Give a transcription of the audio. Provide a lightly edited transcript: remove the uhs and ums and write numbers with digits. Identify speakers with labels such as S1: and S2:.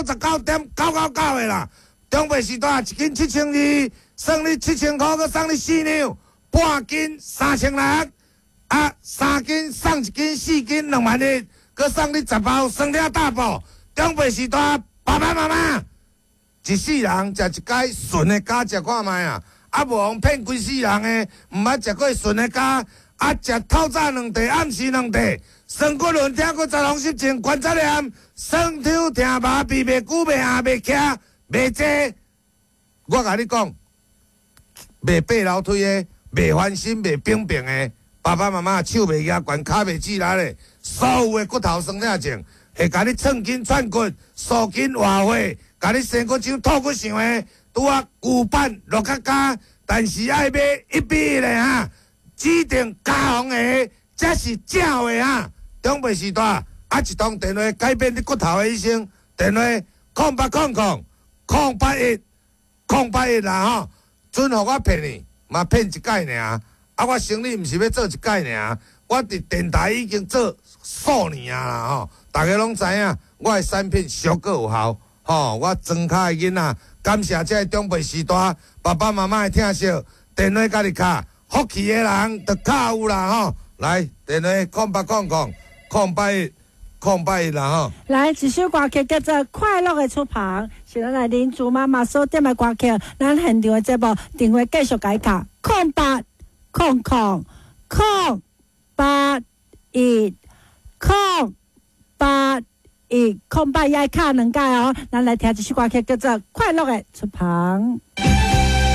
S1: 99.999的啦。中白时大一斤7200，算你7000箍，閣送你四兩，半斤3600，啊，3斤送一斤，4斤2萬1，閣送你10包酸痛大補。中白時大爸爸媽媽，一世人食一擺純的膠食看覓啊！啊，無予騙規世人的，毋捌食過純的膠，啊，食透早兩袋，暗時兩袋，酸骨輪、痛骨、雜風濕症、關節炎、酸抽疼麻、鼻袂久、袂餡、袂徛、袂坐。我共你講，袂爬樓梯的，袂翻身、袂病病的，爸爸媽媽手袂舉懸，跤袂直力的，所有的骨頭酸痛症，會共你寸筋串骨、舒筋活血，共你生骨像吐骨像的，拄仔舊版落較加，但是愛買1比1的哈，指定加紅的，才是正話哈。長輩時代，啊一通電話改變你骨頭的一生，電話0800 081 081啦吼，準予我騙你，嘛騙一擺爾。啊，我生理毋是欲做一擺爾，我佇電台已經做數年啊啦吼，逐家攏知影，我的產品俗閣有效，吼，我莊跤的囡仔，感謝這个長輩時代爸爸媽媽的疼惜，電話家己敲，福氣的人就較有啦吼。來，電話0800 081 081啦吼。
S2: 來，一首歌曲叫做《快樂的出旁》，是咱來林竹媽媽所點的歌曲。咱現場的節目電話繼續共伊敲，0800 081 081，08也愛敲兩擺哦。咱來聽這首歌曲叫做《快樂的出旁》。